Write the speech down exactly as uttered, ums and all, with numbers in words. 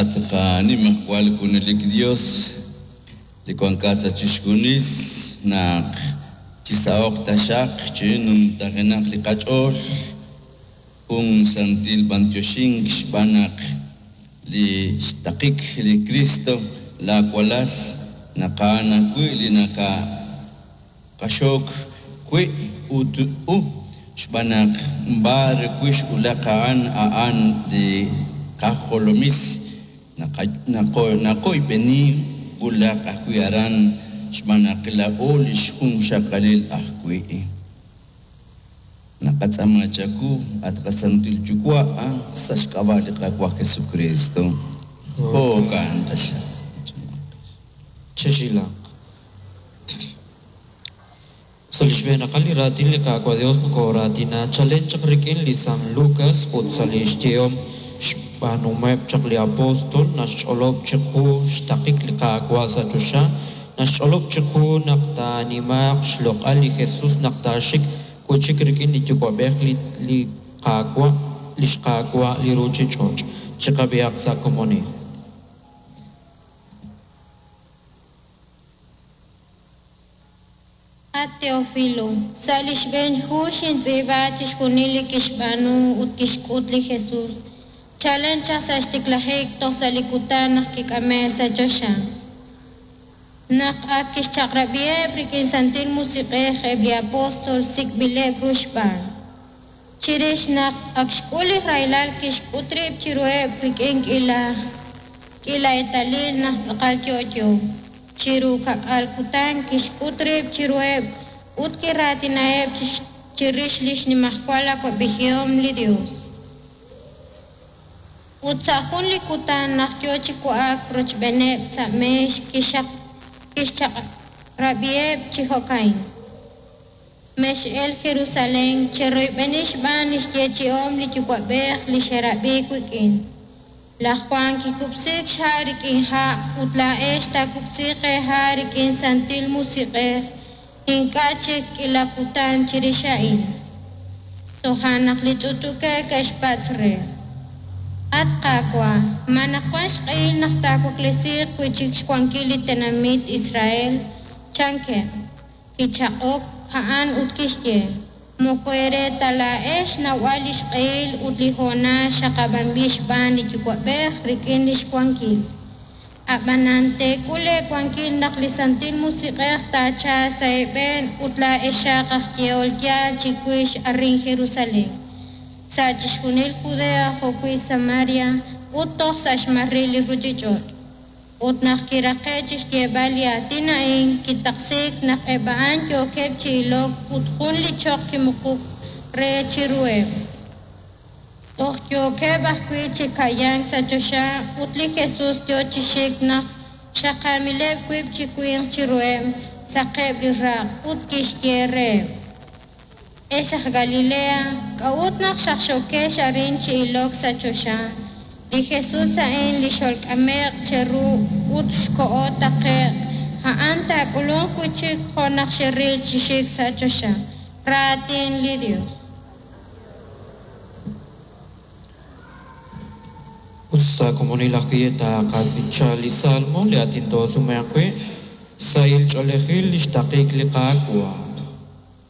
At qanimajwal junelik Dios, li wankat sa' chixjunil naq chisaho'q taxaq chinumtajenaq li qach'ool jun santil b'antioxink xb'aan naq li xtaqik li Cristo laawalal naqa'an ajwi' li nakaqaxok wi' ut u xb'aan naq b'ar wi' xwulaq a'an a'an li qajolomil naqoyb'eni wulaq ajwi' aran xb'aan naq laa'o li xjunxaqalil ajwi'. Naqatz'aama chawu at qasantil Yuwa' sa' xk'ab'a' li Qaawa' Jesucristo. Jo'kan taxaq. Chexilaq. Sa' li xb'eenaqal li raatin li Qaawa' Dios nokoraatina chalen chaq rik'in li San Lucas ut sa' li xyehom xb'aanumeb' chaq li apóstol naxch'olob' chiqu xtaqik li Qaawa' sa' choxa, naxch'olob' chiqu naq taanimaaq xloq'al li Jesus naq taaxik wi'chik rik'in li Yuwa'b'ej li li Qaawa' li xQaawa' li ruuchich'och'. Chiqab'ihaq sa' komonil. At Teófilo, sa' li xb'een hu xintz'iib'a chixjunil li kixb'aanu ut kixk'ut li Jesus, chalen chaq sa' xtiklajik toj sa' li kutan naq kik'ame' sa' choxa. Naq ak kixchaq'rab'iheb' rik'in Santil Musiq'ej eb' li apóstol sik'b'ileb' ru xb'aan. Chirix naq ak xk'ul li rahilal kixk'ut rib' chiruheb' rik'in k'iila k'iila eetalil naq tz'aqal yo'yo. Chiru ka'k'aal kutan kixk'ut rib' chiruheb' ut kiraatinaheb' chirix li xnimajwal awa'b'ejihom li Dios. Ut sa' jun li kutan naq yo chi wa'ak rochb'eeneb' sa' meex kixchaq'rab'iheb' chi jo'ka'in. Mex'el Jerusalén cheroyb'eni xb'aan li xyeechi'om li Yuwa'b'ej li xerab'i wik'in. Laj Juan kikub'siik xha' rik'in ha' ut laa'ex taakub'siiq eeha' rik'in Santil Musiq'ej ink'a' chik k'iila kutan chirix a'in. Toja' naq li ch'uch'ukej ke'xpatz' re: At Qaawa', ma naq wan xq'ehil naq taawaklesiiq wi'chik xwankil li tenamit Israel? Chankeb'. Kichaq'ok a'an ut kixye: Moko eere ta laa'ex xnawb'al li xq'ehil ut li hoonal xaqab'anb'il xb'aan li Yuwa'b'ej rik'in li xwankil. Ab'anan teek'ul eewankil naq li Santil Musiq'ej taachalq sa' eeb'een ut laa'exaq aj yehol yaal chiwix arin Jerusalén, sa' chixjunil Judea jo'wi' Samaria ut toj sa' xmaril li ruuchich'och'. Ut naq kiraqe' chi xyeeb'al li aatin a'in, kitaqsiik naq eb' a'an yookeb' chi ilok ut jun li choq kimuquk re chiruheb'. Toj yookeb' ajwi' chi ka'yank sa' choxa ut li Jesus yo chi xik naq xaqamileb' wiib' chi winq chiruheb' saqeb' li raq' ut kixye reheb': Ex aj Galilea, k'a'ut naq xaqxookex arin chi ilok sa' choxa? Li Jesus a'in li xolk'ame'q cheru ut xkoho taqe'q, a'an taak'ulunq wi'chik jo' naq xeril chi xik sa' choxa. Raatin li Dios. Ut sa' komonil ajwi' taqab'icha li Salmo li aatin toosumeq wi' sahil ch'oolejil li xtaqik li Qaawa'.